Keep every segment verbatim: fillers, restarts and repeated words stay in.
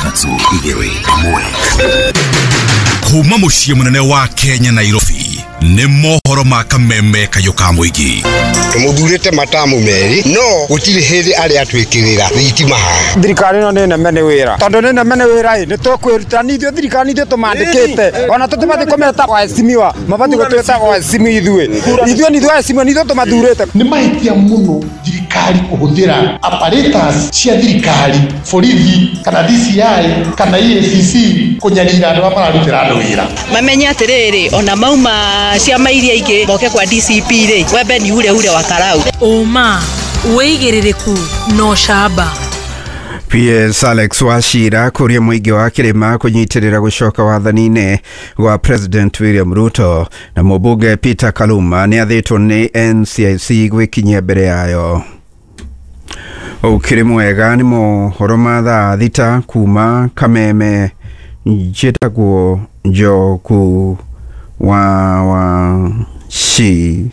Ithatũ, igĩrĩ, ĩmwe. Kuma mũciĩ mũnene wa Kenya, Nairobi, nĩ mohoro ma Kameme Kayũ ka Mũingĩ. Tũmũthurĩte matamu merĩ, no gũtirĩ hĩndĩ arĩ atwĩkĩrĩra thitima haha. Thirikari ĩno nĩ neme nĩ wĩra, tondũ nĩ neme nĩ wĩra ĩ nĩ tũkwĩruta nĩ ithuĩ. Thirikari ithuĩ tũmandĩkĩte, ona tũtibatiĩ kũmeta waheshimiwa, mabatiĩ gũtwĩta waheshimiwa. ithuĩ ithuĩ nĩ ithuĩ waheshimiwa, nĩ ithuĩ tũmathurĩte. Nĩ mahĩtia mũno thirikari kũhũthĩra apparatus cia thirikari, borithi kana D C I kana E A C C, kũnyarira andũ arĩa mararutĩra andũ wĩra. Mamenye atĩrĩrĩ, ona mauma ciama iria ingĩ moke kwa D C P rĩ, wembe ni ure ure wa karau. Ũma, wĩigĩrĩrĩku na ũcamba. P S Alex Wachira kũria mũingĩ wa kĩrĩma kũnyitĩrĩra gũcoka wathani-inĩ gwa President William Ruto, na mũmbunge Peter Kaluma nĩ athĩtwo nĩ N C I C gwĩkinyia mbere yayo. Ũkĩrĩ mwega, nĩ mohoro ma thaa thita kuma Kameme. Njĩtagwo Njoku wa Wachira.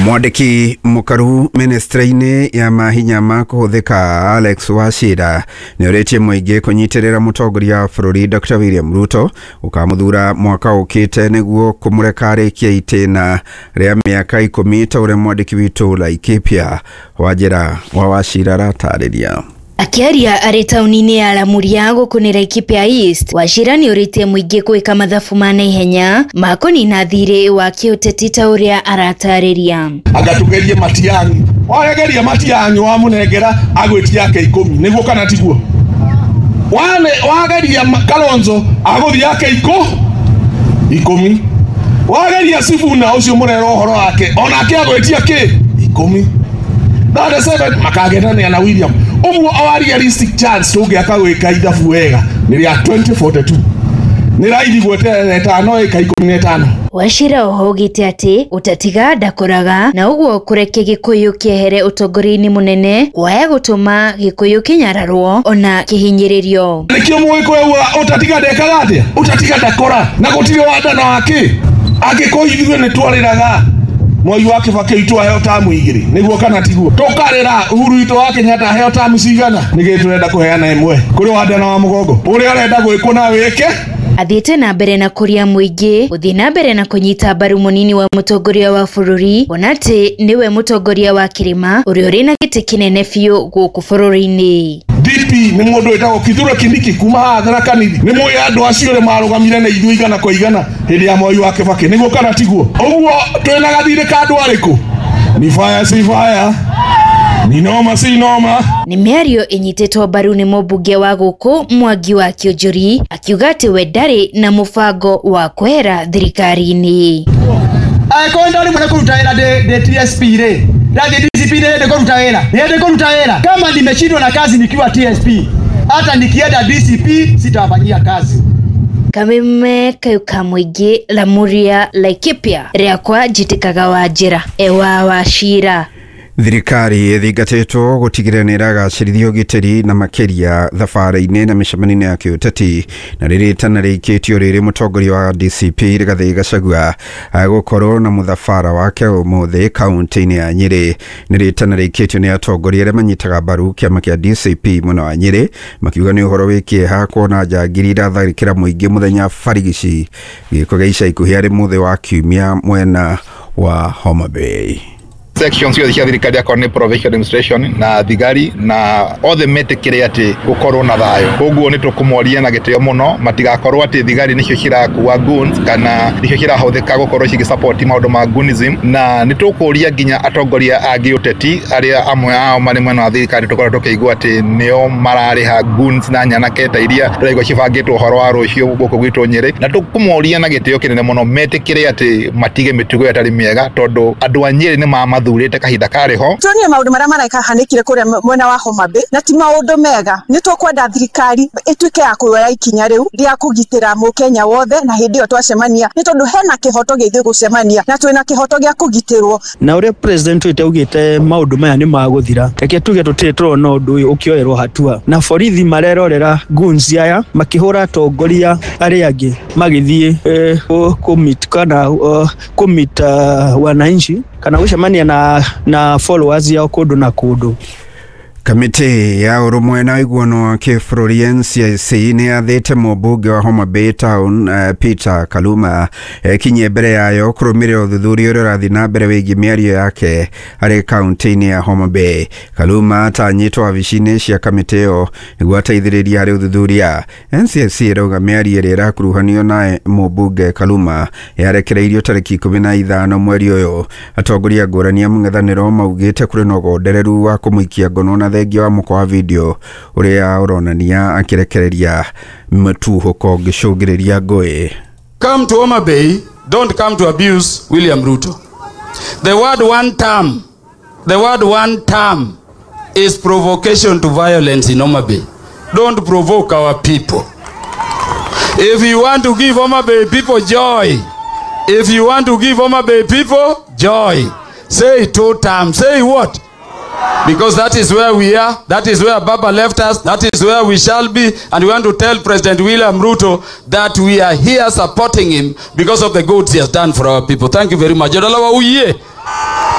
Mwandĩki mũkaru ministry-inĩ ya mahinya ma kũhũthĩka Alex Wachira nĩ ũrĩtie mũingĩ kũnyitĩrĩra mũtongoria wa bũrũri Doctor William Ruto ũkamũthura mwaka ũkĩte nĩguo kũmũreka arĩkie itĩna rĩa mĩaka ikũmi, ta ũrĩa mwandĩki witũ Laikipia Wanjĩra wa Wachira aratarĩria. Akĩaria arĩ taũni-inĩ ya Lamuria gũkũ nĩ Laikipia East, Wachira nĩ ũrĩtie mũingĩ gwĩka mathabu ma naihenya ma kũnina thirĩ wa kĩũteti, ta ũrĩa aratarĩria. Anga tugerie Matiang'i, wageria Matiang'i wamũnengera agwĩtia yake ikũmi, nĩguo kana tiguo? Wane wageria Kalonzo agũthiĩ yake ikũ ikũmi, wageria Sifuna ũcio mũrera ũhoro wake onake agwĩtia kĩ ikũmi, thirty-seven makagendania na William. Ũguo our realistic chance tũngĩaka gwĩka ithabu wega nĩ rĩa twenty forty-two, nĩ raithi gweterera ĩtano ĩka ikũmi na ĩtano. Wachira oho augĩte atĩ ũtatiga ndakoraga, na ũguo kũrekia Gĩkũyũ kĩehere ũtongoria-inĩ mũnene kwaya gũtũma Gĩkũyũ kĩnyararwo ona kĩhinyĩrĩrio. Nĩkĩo Mũgĩkũyũ augaga ũtatiga ndekaga atĩa, ũtatiga ndakora, na gũtirĩ wandano wake. Angĩkorwo ithuĩ nĩ twarĩraga Mwai wa Kibaki witũ aheo tamu igĩrĩ, nĩguo kana tiguo? Tũkarĩra Uhuru witũ wa Kenyatta aheo tamu cigana, nĩkĩ tũrenda kũheana ĩmwe kũrĩ wandano wa mũgongo ũrĩa ũrenda gwĩkwo na wĩke? Athiĩte na mbere na kũria mũingĩ gũthiĩ na mbere na kũnyita mbaru mũnini wa mũtongoria wa bũrũri, kuona atĩ nĩwe mũtongoria wa kĩrĩma ũrĩa ũrĩ na gĩtĩ kĩnene biũ gũkũ bũrũri-inĩ. D P nĩ mũndũ wĩtagwo Kithure Kindiki kuma haha Tharaka Nithi. Nĩ mũĩ andũ acio ũrĩa marũgamire na ithuĩ igana kwa igana hĩndĩ ya Mwai wa Kibaki, nĩguo kana tiguo? Ũguo twĩna gathirĩ ka andũ arĩkũ? Ni fire si fire, ni noma si noma? Nĩ mĩario ĩnyitĩtwo mbaru nĩ mũmbunge wa gũkũ Mwangi wa Kĩũnjũri, akiuga atĩ we ndarĩ na mũbango wa kwehera thirikari-inĩ. Angĩkorwo ndarĩ mwene kũruta wĩra ndĩ ndĩ T S P rĩ, ndathiĩ D C P nĩ hĩndĩ kũruta wĩra, nĩ hĩndĩ kũruta wĩra. Kama nimeshindwa na kazi nikiwa T S P, hata nikienda D C P sitawafanyia kazi. Kameme Kayũ ka Mũingĩ, Lamuria, Laikipia, rĩakwa njĩtĩkaga Wanjĩra ewa Wachira. Thirikari ĩthingatĩtwo gũtigĩrĩra nĩ ĩragacĩrithia ũgitĩri na makĩria thabarĩ-inĩ na mĩcemanio ya kĩũteti, na rĩrĩ itana rĩikĩtio rĩrĩ mũtongoria wa D C P Rigathĩ Gachagua agũkorwo na mũthabara wake ũmũthĩ kaunti-inĩ ya Nyĩrĩ. Nĩ rĩtana rĩikĩtio nĩ atongoria arĩa manyitaga mbaru kĩama kĩa D C P mwena wa Nyĩrĩ, makiuga nĩ ũhoro wĩ kĩeha kuona njangiri iratharĩkĩra mũingĩ mũthenya barigici, gĩko gĩa ica ikuhĩ arĩ mũthĩ wa Kiumia mwena wa Homa Bay. Section ciothe cia thirikari, akorwo nĩ provincial administration na thigari na othe, metĩkĩre atĩ gũkorwo na thayũ. Koguo nĩ tũkũmoria na gĩtĩo mũno matigakorwo atĩ thigari nĩcio cirakua goons kana nĩcio cirahũthĩka gũkorwo cigĩsupport maũndũ ma goonism. Na nĩ tũkũria nginya atongoria a gĩũteti arĩa amwe ao marĩ mwena wa thirikari, tũkorwo tũkĩigua atĩ nĩo mararĩha goons na nyanake ta iria tũraigua cibangĩtwo ũhoro wa rũciũ gũkũ gwitũ Nyĩrĩ. Na tũkũmoria na gĩtĩo kĩnene mũno metĩkĩre atĩ matige mĩtugo ĩyo ĩtarĩ mĩega, tondũ andũ a Nyĩrĩ nĩ mamathurĩte kahinda karĩ ho. Tuonire maũndũ marĩa marekahanĩkire kũrĩa mwena wa Homa Bay na ti maũndũ mega. Nĩ tũkwenda thirikari ĩtuĩke ya kuoya ikinya rĩu rĩa kũgitĩra mũkenya wothe, na hĩndĩ ĩyo twacemania, nĩ tondũ hena kĩhoto gĩa ithuĩ gũcemania na twĩna kĩhoto gĩa kũgitĩrwo. Na ũrĩa president witũ augĩte maũndũ maya nĩ magũthira, reke tuge tũtirĩ tũrona ũndũ ũyũ ũkĩoerwo hatua, na borithi marerorera goons aya makĩhũra atongoria arĩa angĩ magĩthiĩ eh, kũ-meet kana uh, kũ-meet uh, wananchi kana gũcemania na, na followers yao kũndũ na kũndũ. Kamĩtĩ ya ũrũmwe na ũiguano wa kĩbũrũri N C I C nĩ yathĩte mũmbunge wa Homa Bay Town uh, Peter Kaluma ekinyie mbere yayo kũrũmĩrĩra ũthuthuria ũrĩa ũrathiĩ na mbere wĩgiĩ mĩario yake harĩ kaunti-inĩ ya Homa Bay. Kaluma atanyĩtwo wabici-inĩ cia kamĩtĩ ĩyo nĩguo ateithĩrĩrie harĩ ũthuthuria. N C I C ĩrauga mĩario ĩrĩa ĩrakuruhanio naye mũmbunge Kaluma yarekereirio tarĩki ikũmi na ithano mweri ũyũ. Atongoria ngũrani a mũng'ethanĩro maugĩte kũrĩ na ũgondereru wa kũmũikia ngono na thengia wa mũkwa wa video ũrĩa ũronania akĩrekereria mũtuhũko ũngĩcũngĩrĩria ngũĩ. Come to Homa Bay, don't come to abuse William Ruto. The word one term, the word one term is provocation to violence in Homa Bay. Don't provoke our people. If you want to give Homa Bay people joy, if you want to give Homa Bay people joy, say two terms, say what? Because that is where we are, that is where Baba left us, that is where we shall be, and we want to tell President William Ruto that we are here supporting him because of the goods he has done for our people. Thank you very much. Jodalawa uye.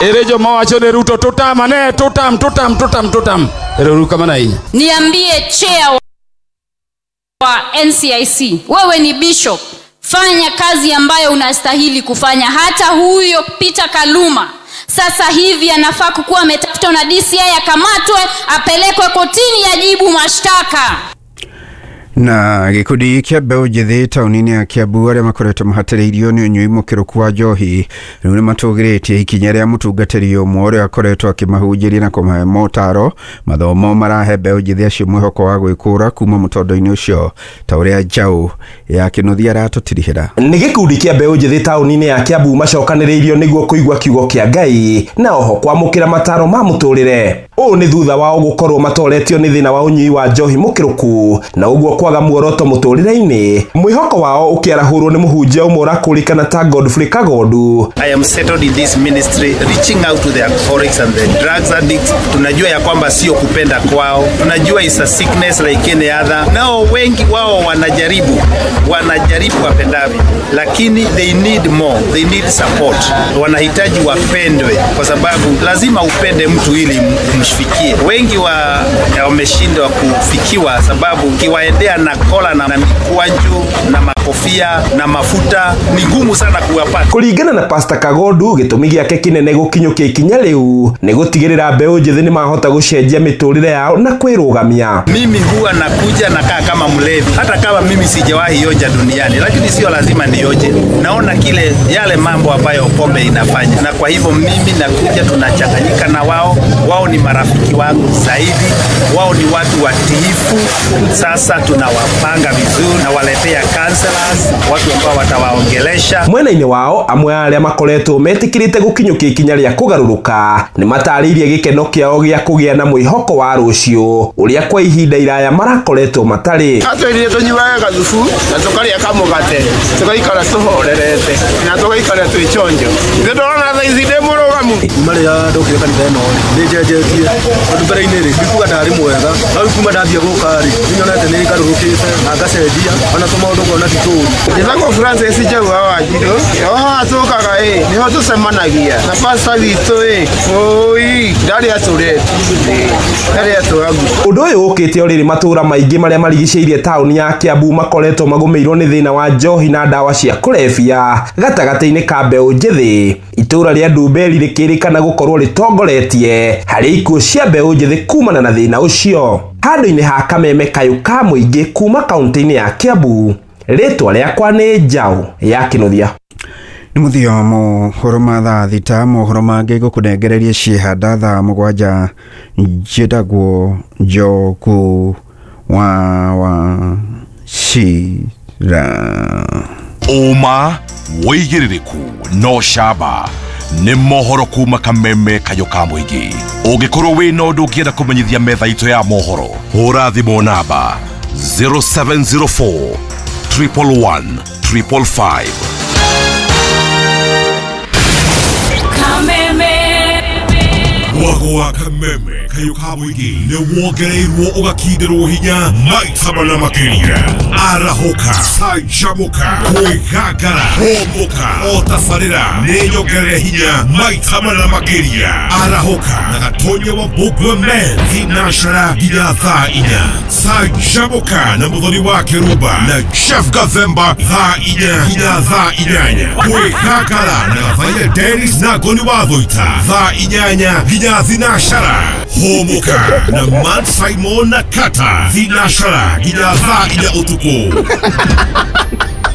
Erejo mawacho ne Ruto tutam ane tutam tutam tutam tutam. Ero kama na hii. Niambie chair wa N C I C, wewe ni bishop, fanya kazi ambayo unastahili kufanya. Hata huyo Peter Kaluma sasa hivi anafaa kukuwa ametafutwa na D C I, akamatwe, apelekwe kotini, ajibu mashtaka. Na gikundi kĩa mbeũ njĩthĩ taũni-inĩ ya Kiambu arĩa makoretwo mahatĩrĩirio nĩ ũnyui mũkĩrũku wa njohi rĩu nĩ matũgĩrĩtie ikinya rĩa mũtungatĩri ũmwe ũrĩa akoretwo akĩmahunjĩria na kũmahe motaro. Mathomo marahe mbeũ njĩthĩ acio mwĩhoko wa gwĩkũra kuma mũtondo-inĩ ũcio ta ũrĩa Njaũ ya Kĩnuthia aratũtirihĩra. Nĩ gĩkundi kĩa mbeũ njĩthĩ taũni-inĩ ya Kiambu macokanĩrĩirio nĩguo kũigua kiugo kĩa Ngai na oho kwamũkĩra mataro ma mũtũrĩre. Ũũ nĩ thutha wao gũkorwo matoretio nĩ thĩna wa ũnyui wa njohi mũkĩrũku na ũguo kwaga muoroto mũtũrĩre-inĩ. Mwĩhoko wao ũkĩarahũrwo nĩ mũhunjia ũmwe ũrakũrĩkana ta Godfrey Kagondu. I am settled in this ministry reaching out to the alcoholics and the drugs addicts. Tunajua ya kwamba sio kupenda kwao, tunajua is a sickness like any other. Nao wengi wao wanajaribu, wanajaribu wapendavyo, lakini they need more, they need support. Wanahitaji wapendwe, kwa sababu lazima upende mtu ili umfikie. Wengi wa wameshindwa kufikiwa sababu kiwaendea na kola na mikwaju na makofia na mafuta ni gumu sana kuwapata. Kulingana na Pastor Kagondu, gĩtũmi gĩake kĩnene gũkinyũkia ikinya rĩu nĩ gũtigĩrĩra mbeũ njĩthĩ nĩ mahota gũcenjia mĩtũrĩre yao na kwĩrũgamia. Mimi huwa nakuja nakaa kama mlevi, hata kama mimi sijawahi onja duniani, lakini sio lazima nioje. Naona kile yale mambo ambayo pombe inafanya, na kwa hivyo mimi nakuja tunachanganyika na wao. Wao ni marafiki wangu zaidi, wao ni watu watiifu. Sasa tunawapanga vizuri na waletea counselors, watu ambao watawaongelesha. Mwena-inĩ wao amwe arĩa makoretwo metĩkĩrĩte gũkinyũkia ikinya rĩa kũgarũrũka nĩ matarĩirie gĩkeno kĩao gĩa kũgĩa na mwĩhoko wa rũciũ ũrĩa kwa ihinda iraya marakoretwo matarĩ. Atwĩrire tũnyuage gathubu na tũkarĩa kamũgate tũgaikara tũhorerete na tũgaikara twĩ chonjo. Nĩ ndorona thaa ici ndĩ mũrũgamu. Kuma rĩrĩa ndokire kanitha ĩno nĩ njenjetie tondũ mbere-inĩ rĩ ndikuga ndarĩ mwega, no rĩu kuma ndathiĩ gũka rĩ nĩnyonete nĩ ngarũrũkĩte na ngacenjia ona tũmaũndũ ngona ti tũũru. Njĩtagwo Francis Njaũ wa Wanjirũ, o haha tũkaga ĩ nĩho tũcemanagia na pastor witũ ĩ ũi ndarĩ atũrete ndarĩ atũragu. Ũndũ ũyũ ũkĩte o rĩrĩ matũũra maingĩ marĩa marigicĩirie taũni ya Kiambu makoretwo magũmĩirwo nĩ thĩna wa njohi na ndawa cia kũrebia gatagatĩ-inĩ ka mbeũ njĩthĩ. Itũũra rĩa Ndumberi rĩkĩrĩkana gũkorwo rĩtongoretie harĩ ikuũ cia mbeũ njĩthĩ kumana na thĩna ũcio. Handũ-inĩ ha Kameme kayũ ka mũingĩ kuma kaunti-inĩ ya Kiambu, rĩtwa rĩakwa nĩ Njaũ ya Kĩnuthia. Nĩ mũthia mohoro ma thaa thita. Mohoro mangĩ ngũkũnengereria ciĩhanda thaa mũgwanja. Njĩtagwo Njoku wa Wachira. Ũma wĩigĩrĩrĩku no camba nĩ mohoro kuma Kameme kayũ ka mũingĩ. Ũngĩkorwo wĩna ũndũ ũngĩenda kũmenyithia metha itũ ya mohoro, hũra thimũ namba zero seven zero four triple one triple five. Mwago wa kameme kayo ka mũingĩ nĩ wongereirwo ũgakindĩrwo hinya maita mana makĩria. Arahũka, canjamũka, kwĩgangara, hũmũka, o tabarĩra nĩ nyongerere hinya maita mana makĩria. Arahũka na Gatonya wa Mbũmbua Men thinacara nginya thaa inya. Canjamũka na Mũthoni wa Kĩrumba na Chef Gathemba thaa inya nginya thaa inyanya. Kwĩgangara na Gathaia Dennis na Ngoni wa Thũita thaa inyanya nginya thinacara. Hũmũka na Man Simon na Kata thinacara nginya thaa inya ũtukũ.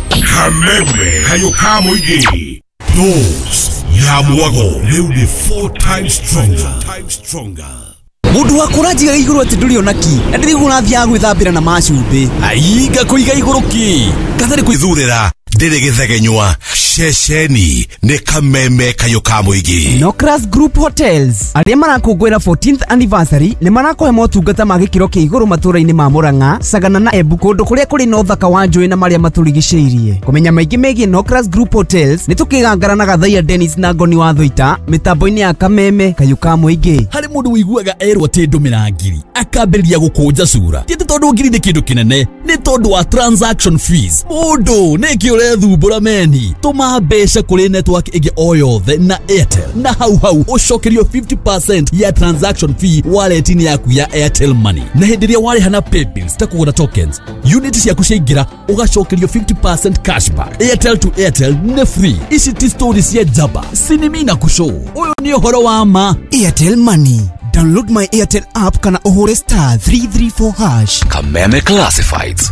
Kameme kayo ka mũingĩ. Dose ya mwago rĩu nĩ four times stronger. Stronger. Mundu wa kũranjiga igũrũ atĩ ndũrĩ ona ki na ndĩrĩguo ũrathiaga gwĩthambĩra na macumbĩ ainga kũiga igũrũ ki katarĩ kwĩthurĩra ndĩrĩ gĩthegenywa ceceni nĩ kameme kayo ka mũingĩ. Nocras Group Hotels arĩa marakũngũĩra fourteenth anniversary nĩ marakũhe motungata ma gĩkĩro kĩa igũrũ matũũra-inĩ ma Murang'a, Sagana na Embu kũndũ kũrĩa kũrĩ na ũthaka wa njũĩ na marĩa matũrigicĩirie. Kũmenya maingĩ megiĩ Nocras Group Hotels nĩ tũkĩgangara na Gathaia Dennis na Ngoni wa Thũita mĩtambo-inĩ ya kameme kayo ka mũingĩ. Harĩ mũndũ ũiguaga erwo atĩ ndũmĩra ngiri akambĩrĩria gũkũnja cura ti atĩ tondũ ngiri nĩ kĩndũ kĩnene nĩ tondũ wa transaction fees. Mũndũ nĩkĩ ũrethumbũra meni tũma mbeca kũrĩ network ĩngĩ o yothe na Airtel na hau hau ũcokerio fifty percent ya transaction fee wallet-inĩ yaku ya Airtel Money. Na hĩndĩ ĩrĩa warĩha na paybills ta kũgũra tokens unit ciaku ciaingĩra ũgacokerio fifty percent cashback. Airtel to Airtel nĩ free. Ici ti story cia njamba sinimi na kũcũ ũyũ nĩ ũhoro wa ma. Airtel Money. Download my Airtel app kana ũhũre star three three four hash. Kameme Classifieds.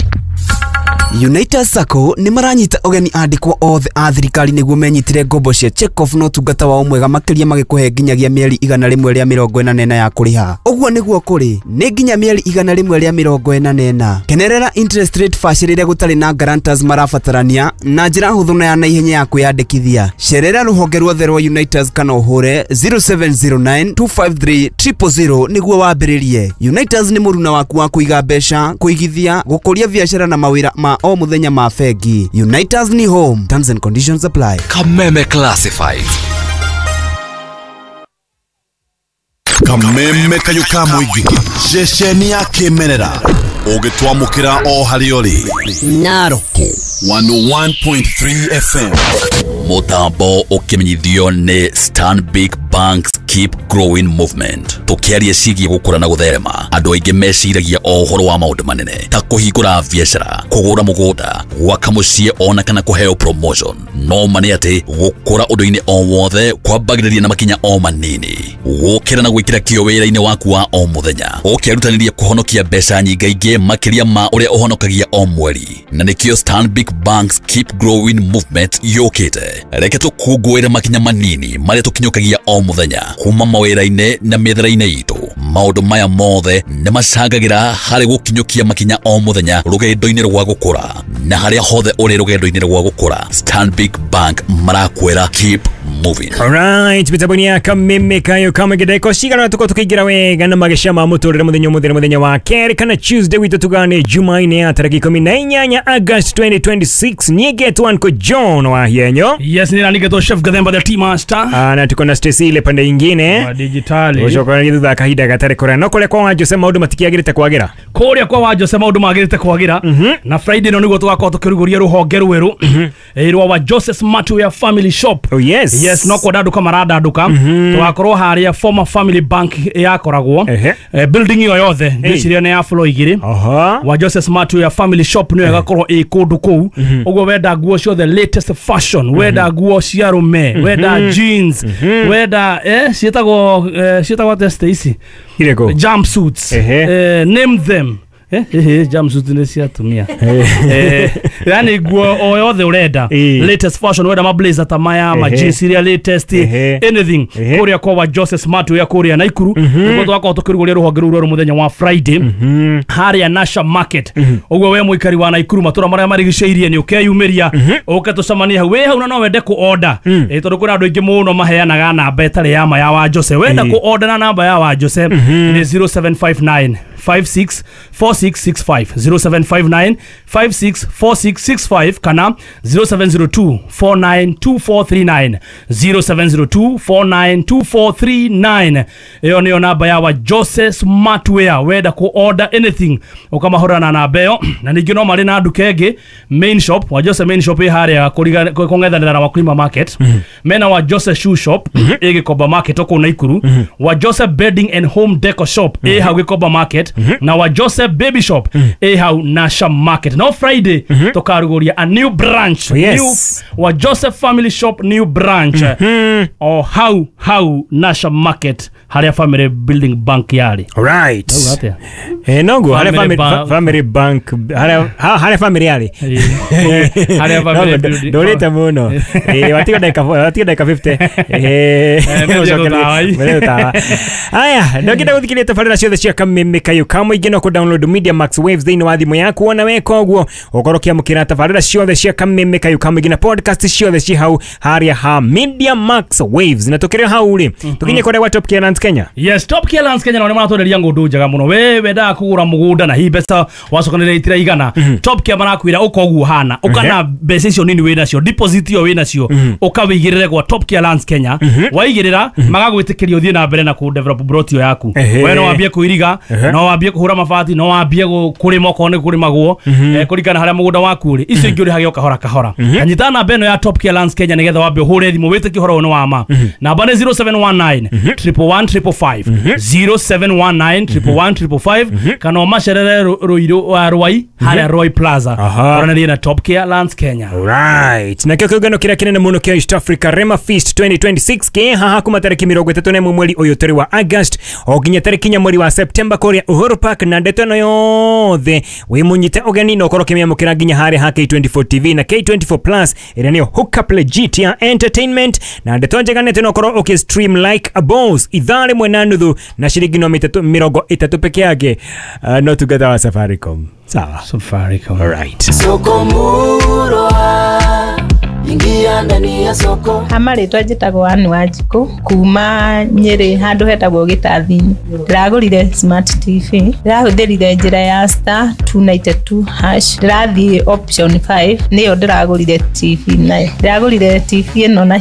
United Sacco nĩ maranyita ũgeni andĩkwo othe a thirikari nĩguo menyitire ngombo cia check-off na ũtungata wao mwega makĩria magĩkũhe nginyagia mĩeri igana rĩmwe rĩa mĩrongo ĩna na ĩna ya kũrĩha. Ũguo nĩguo kũrĩ nĩ nginya mĩeri igana rĩmwe rĩa mĩrongo ĩna na ĩna. Kenerera interest rate bacĩrĩre gũtarĩ na guarantors marabatarania na njĩra hũthũ na ya naihenya ya kwĩyandĩkithia. Cerera rũhonge ruothe rwa Unitas kana ũhũre zero seven zero nine two five three triple zero nĩguo wambĩrĩrie. Unitas nĩ mũruna waku wa kũiga mbeca, kũigithia, gũkũria biacara na mawĩra ma o muthenya ma bengi. Unitas ni home. Terms and conditions apply. Kameme Classifieds. Kameme kayo ka mũingĩ ceceni ya kĩmerera ũgĩtwamũkĩra o harĩa ũrĩ Narok one oh one point three F M. Mũtambo ũkĩmenyithio nĩ Stanbic Bank's Keep Growing Movement. Tũkĩaria ciĩgiĩ gũkũra na gũtherema andũ aingĩ meciragia o ũhoro wa maũndũ manene ta kũhingũra biacara, kũgũra mũgũnda, gwaka mũciĩ ona kana kũheo promotion. No ma nĩ atĩ gũkũra ũndũ-inĩ o wothe kwambagĩrĩria na makinya o manini. Gũkĩra na gwĩkĩra kĩyo wĩra-inĩ waku wa o mũthenya ũkĩrutanĩria kũhonokia mbeca nyingaingĩ makĩria ma ũrĩa ũhonokagia o mweri. Na nĩkĩo Stanbic Bank's Keep Growing Movement yũkĩte. Reke tũkũngũĩre makinya manini marĩa tũkinyũkagia o mũthenya kuma mawĩra-inĩ na mĩethere-inĩ itũ. Maũndũ maya mothe nĩ macangagĩra harĩ gũkinyũkia makinya o mũthenya rũgendo-inĩ rwa gũkũra. Na harĩa hothe ũrĩ rũgendo-inĩ rwa gũkũra, Stanbic Bank marakwĩra keep moving. Alright, mitambo-inĩ ya kameme kayo kamagedeko cigana tuko tukiingira wega na mageca ma mũtũrĩre mũthenya ũmũthĩ nĩ mũthenya wa kerĩ kana Tuesday witũ tugane Jumaine ya tarĩki ikũmi na inyanya August twenty twenty-six. Nigetwo Uncle John wa Hienyo. Yes, ni nanigetwo Chef Gathemba the Tea Master. Ah, na tuko na Stacy ile pande ingine wa digitali. Ucoka thutha kahinda gatarĩ kũraya no kũrĩa kwa wa Jose maũndũ matikiagĩrĩte kwagĩra. Kũrĩa kwa wa Jose maũndũ magĩrĩte kwagĩra. Na Friday no nĩguo tũgakorwo tũkĩrugũria rũhonge rwerũ rwa wa Jose Smartwear Family Shop. Oh yes. Yes, no kwandanduka marandanduka. Tũgakorwo harĩa former Family Bank yakoragwo. Building ĩyo yothe ngwĩciria nĩ ya floor igĩrĩ. Wa Jose Smartwear Family Shop nĩyo ĩgakorwo ĩ kũndũ kũu. Ũguo wenda nguo ciothe latest fashion, wenda nguo cia arũme, wenda jeans, wenda eh ciĩtagwo ciĩtagwo atĩa Stacy? Irĩkũ? Jumpsuits. Eh, name them. Eh, eh, jumpsuit nĩ cia atumia. Eh, yani nguo o yothe ũrenda. Latest fashion, wenda ma blazer ta maya, ma jeans iria latest, anything. Kũrĩa kwa wa Jose Smartwear kũrĩa Naikuru. Nĩguo tũgakorwo tũkĩrugũria rũhonge rũu rwerũ mũthenya wa Friday harĩa Nasha Market. Ũguo we mũikari wa Naikuru matũra marĩa marigicĩirie nĩ ũkeyumĩria ũke tũcemanie hau. Wĩ hau na no wende kũ order. Eh, tondũ kwĩna andũ aingĩ mũno maheanaga namba ĩtarĩ ya ma ya wa Jose. Wenda kũ order na namba ya wa Jose nĩ zero seven five nine five six four six six five zero seven five nine five six four six six five kana zero seven zero two four nine two four three nine zero seven zero two four nine two four three nine. Iyo niyo namba ya wa Jose Smartwear wenda ku order anything ukamahura na namba iyo. Na ningĩ no marĩ na nduka ĩngĩ main shop wa Jose main shop ĩ harĩa kũng'ethanĩra na Wakulima Market. Mm -hmm. Mena wa Jose shoe shop mm -hmm. ĩ Gĩkomba Market kũu Naikuru. Mm -hmm. Wa Jose bedding and home decor shop mm -hmm. ĩ hau Gĩkomba Market. Mm -hmm. Na wa Jose baby shop mm -hmm. ĩ hau Nasha Market. No Friday mm -hmm. tũkarugũria a new branch. Oh, yes. New wa Jose family shop new branch. Mm -hmm. O hau hau Nasha Market harĩa family building bank yarĩ. Right. Eh noguo harĩa family family bank harĩa harĩa family yarĩ. Harĩa family building. Ndũrĩte mũno. Eh watiga dakika watiga dakika fifty. Eh aya ndokenda gũthikĩrĩria tabarĩra ciothe cia Kameme Kayo ka Mũingĩ no kũ download Media Max Waves thĩinĩ wa thimũ yaku ona weka ũguo ũkorwo ũkĩamũkĩra tabarĩra ciothe cia Kameme Kayo ka Mũingĩ na podcast ciothe ci hau harĩa ha Media Max Waves. Na tũkĩrĩ hau rĩ tũkinye kũrĩa gwa Top Care Lands Kenya. Yes, Top Care Lands Kenya nao nĩmaratwenderia ng'ũndũ njega mũno. We wendaga kũgũra mũgũnda na hihi mbeca wacokanĩrĩria itiraigana, Top Care marakwĩra ũka ũguo hana ũka na mbeca icio nini wĩnacio deposit ĩyo wĩnacio ũkawĩigĩrĩre gwa Top Care Lands Kenya. Waigĩrĩra magagwĩtĩkĩria ũthiĩ na mbere na kũ develop plot ĩyo yaku. We no wambie kũiriga, no wambie kũhũra mabati, no wambie kũrĩma okorwo nĩ kũrĩmagwo kũringana harĩa mũgũnda waku ũrĩ. Icio ingĩ ũrĩhage o kahora kahora. Anyita namba ĩno ya Top Care Lands Kenya nĩgetha wambe ũhũre thimũ wĩtĩkie ũhoro ũyũ nĩ wa ma. Namba nĩ zero seven one nine triple one triple five zero seven one nine triple one triple five kana ũmacerere Rũirũ Rwai harĩa Roy Plaza oranĩrie na Top Care Lands Kenya. Right. Na kĩo kĩũngano kĩrĩa kĩnene mũno kĩa East Africa Rema Feast twenty twenty-six kĩ haha kuma tarĩki mĩrongo ĩtatũ na ĩmwe mweri ũyũ tũrĩ wa August o nginya tarĩki inya mweri wa September kũrĩa Uhuru Park. Na ndeto ĩno yothe wĩ mũnyite ũgeni na ũkorwo ũkĩmĩamũkĩra nginya harĩa ha K twenty-four T V na K twenty-four Plus ĩrĩa nĩyo hookup legit ya entertainment. Na ndeto njega nĩ atĩ no ũkorwo ũkĩ stream like a boss ithaa rĩmwe na nuthu na ciringi no mĩrongo ĩtatũ peke yake. Uh, no together wa Safaricom. Sawa. Safaricom. All right. Soko murwa ingia ndani ya soko. Amarĩtwa njĩtagwo Ann Wanjikũ kuma Nyĩrĩ handũ hetagwo Gĩtathi-inĩ. Ndĩragũrire smart T V. Ndĩrahũthĩrire njĩra ya star two ninety two hash. Ndĩrathiĩ option five nĩyo ndĩragũrire T V nayo. Ndĩragũrire T V ĩno na